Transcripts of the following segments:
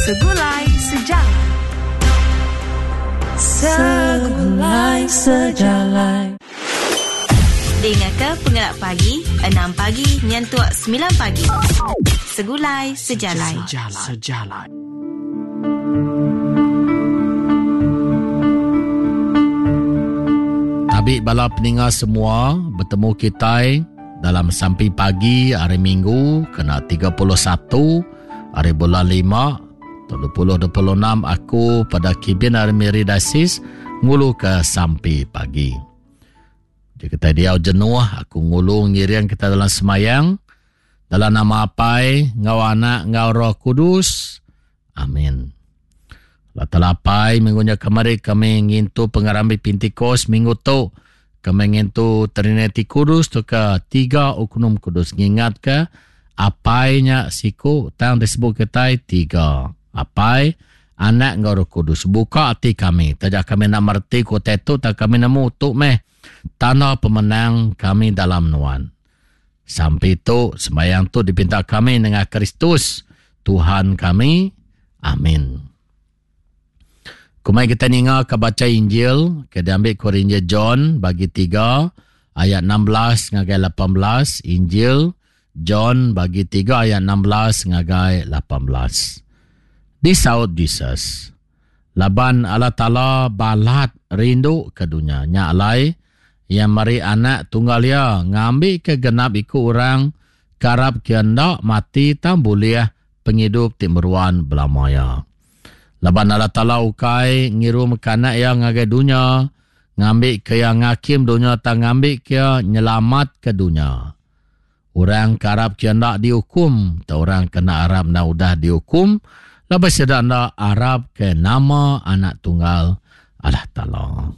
Segulai Sejalai. Segulai Sejalai. Dingaka pengelap pagi, enam pagi nyentuk semilan pagi. Segulai Sejalai. Sejalai. Tabi bala peninga semua, betemu kitai dalam sampi pagi hari Minggu kena 31 hari bulan 5 tahun 2026 aku pada kibin hari Miri Diocese ngulu ke sampi pagi. Jadi kita diau jenuh aku ngulu ngiring kita dalam semayang dalam nama Apai enggau Anak enggau Roh Kudus. Amin. Allah Taala Apai minggu nya kemari kami ngintu pengerami Pentecost minggu tu kami ngintu Trinity Kudus tu ke tiga oknum kudus ngingat ke Apai nya siku tang disebut kitai tiga. Apai, Anak enggau Roh Kudus. Buka ati kami taja kami enda mereti ku utai tu tang kami nemu tu meh tanda pemenang kami dalam nuan. Sampi tu, sembahyang tu dipinta kami nengah Kristus, Tuhan kami. Amin. Kumai kita ninga ke baca Injil, ke diambil ke Injil John bagi 3 ayat 16 ngagai 18, Injil John bagi 3 ayat 16 ngagai 18. Disaut Jesus, Laban Allah Taala balat rindu ke dunya. Nya alai, Iya meri Anak tunggal Iya ngambika genap iku orang ke arapka Iya enda mati tang bulih pengidup ti meruan belama iya. Laban Allah Taala ukai ngirumka Anak Iya ngagai dunya ngambika Iya ngakim dunya tang ngambika Iya nyelamatka dunya. Orang ke arap ke enda diukum, tau orang ke enda arap enda udah diukum, laban sida enda arap ke nama Anak Tunggal Allah Taala.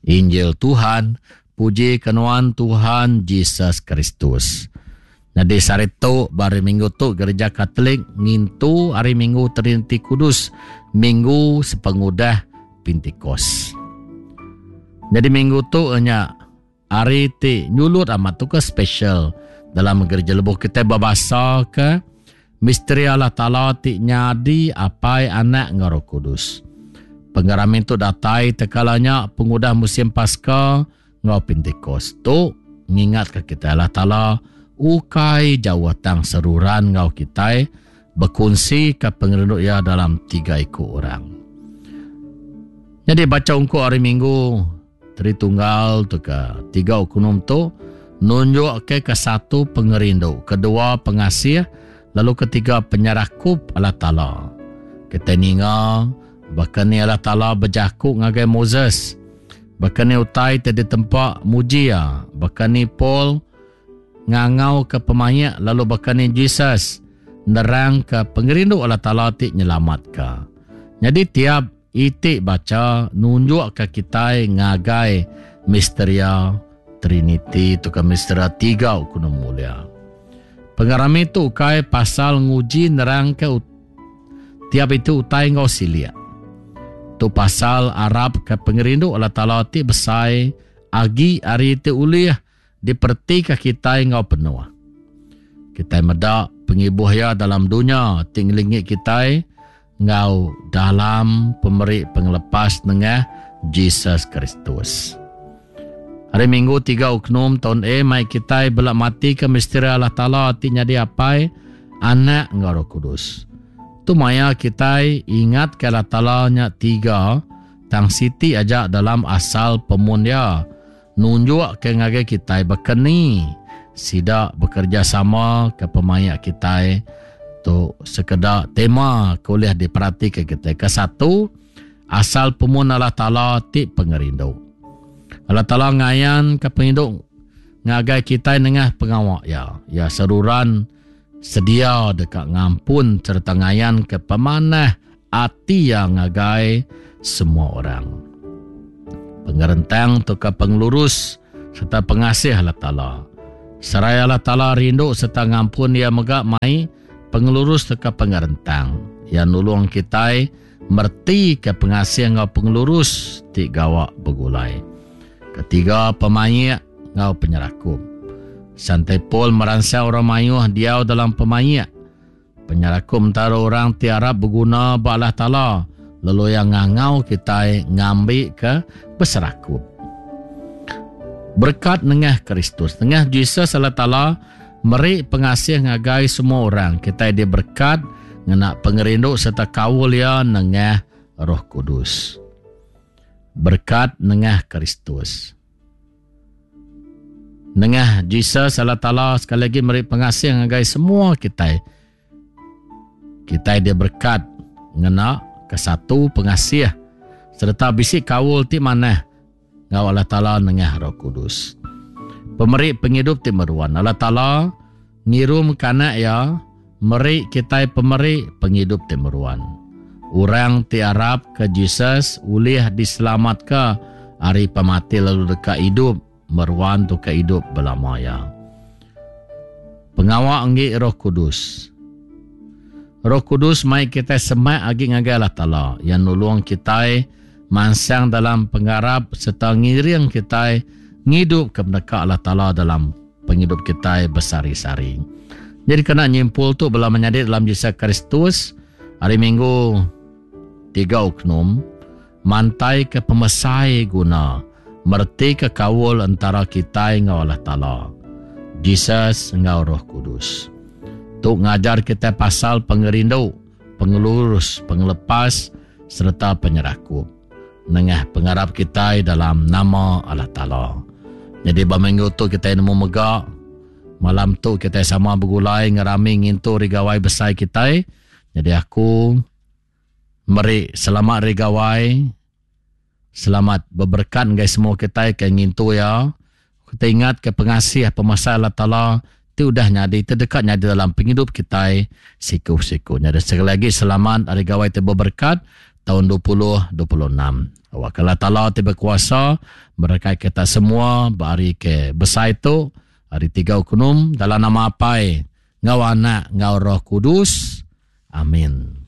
Injil Tuhan, puji ke nuan Tuhan Jesus Kristus. Nyadi sehari tu, ba hari Minggu tu Gereja Katolik ngintu Hari Minggu Triniti Kudus, minggu sepengudah Pentikos. Nyadi minggu tu nya Hari ti nyulut amat tu ke special dalam gereja lebuh kitai bebasa ke misteri Allah Taala ti nyadi Apai, Anak enggau Roh Kudus. Pengerami tu datai tekala nya pengudah musim Paska enggau Pentikos. Tu ngingatka kitai Allah Taala ukai jauh tang seruran enggau kitai bekunsika pengerindu iya dalam tiga iku orang. Nyadi bacha ungkup hari Minggu Tritunggal tu ke tiga okunum tu nunjukka ke satu pengerindu, kedua pengasih, lalu ketiga penyerakup Allah Taala. Kitai ninga baka ni Allah Taala bejaku ngagai Moses, baka ni utai ti ditempa muji iya, baka ni Paul ngangauka pemaik lalu baka ni Jesus nerangka pengerindu Allah Taala ti nyelamatka. Nyadi tiap Iti bacha nunjukka kitai ngagai misteria Triniti tauka misteria tiga Ukunu Mulia. Pengerami tu ukai pasal nguji nerangka tiap iti utai enggau silik. Tu pasal arapka pengerindu Allah Taala ti besai agi ari ti ulih diperetika kitai enggau penuh. Kitai meda pengibuh iya dalam dunya ti ngelingi kitai enggau dalam pemeri pengelepas nengah Jesus Kristus. Hari Minggu tiga Oknum taun A mai kitai bela matika misteri Allah Taala ti nyadi Apai, Anak enggau Roh Kudus. Tu maya kitai ingatka Allah Taala nya tiga tang siti aja dalam asal pemun iya. Nunjukka ngagai kitai baka ni sida bekerejasama ke pemaik kitai. Tu sekeda tema ke ulih diperatika kitai. Kesatu, asal pemun Allah Taala ti pengerindu. Allah Taala ngayanka pengerindu ngagai kitai nengah pengawa Iya. Iya seruran sedia deka ngampun sereta ngayanka pemanah ati iya ngagai semua orang. Pengerentang tauka pengelurus sereta pengasih Allah Taala. Seraya Allah Taala rindu sereta ngampun iya mega mai pengelurus tauka pengerentang. Iya nulung kitai meretika pengasih enggau pengelurus ti gawa begulai. Ketiga, pemaik enggau penyerakup. Santai Paul meransang orang mayuh diau dalam pemaik. Penyerakup entara orang ti arap beguna ba Allah Taala lalu iya ngangau kitai ngambika beserakup. Berekat nengah Kristus. Nengah Jesus Allah Taala meri pengasih ngagai semua orang. Kitai diberekat ngena pengerindu sereta kaul iya nengah Roh Kudus. Berekat nengah Kristus. Nengah Jesus Allah Taala sekali lagi meri pengasih ngagai semua kitai. Kitai diberkat ngena kesatu pengasih sereta bisi kaul ti manah enggau Allah Taala nengah Roh Kudus. Pemeri pengidup ti meruan. Allah Taala ngirum ke anak iya meri kitai pemeri pengidup ti meruan. Orang ti arap ke Jesus ulih diselamatka ari pemati lalu deka idup meruan tauka idup belama iya. Pengawa enggi Roh Kudus. Roh Kudus mai kitai semak agi ngagai Allah Taala. Iya nulung kitai mansang dalam pengarap sereta ngiring kitai ngidupka peneka Allah Taala dalam pengidup kitai besehari-sehari. Jadi kena nyimpul tu bala menyadi dalam Jesus Kristus hari Minggu tiga Oknum mantai ke pemesai guna mereti ke kaul entara kitai enggau Allah Taala, Jesus enggau Roh Kudus. Tu ngajar kitai pasal pengerindu, pengelurus, pengelepas sereta penyerakup nengah pengarap kitai dalam nama Allah Taala. Nyadi ba minggu tu kitai nemu mega malam tu kitai sama begulai ngerami ngintu Hari Gawai besai kitai. Nyadi aku meri selamat Hari Gawai, selamat beberekat ngagai semua kitai ke ngintu iya. Kitai ingat ke pengasih pemesai Allah Taala ti udah nyadi ti deka nyadi dalam pengidup kitai siku-siku. Nyadi sekali agi selamat Hari Gawai ti beberekat taun 2026. Awakka Allah Taala ti bekuasa merekai kita semua ba hari ke besai tu, hari tiga Ukunum dalam nama Apai enggau Anak enggau Roh Kudus. Amin.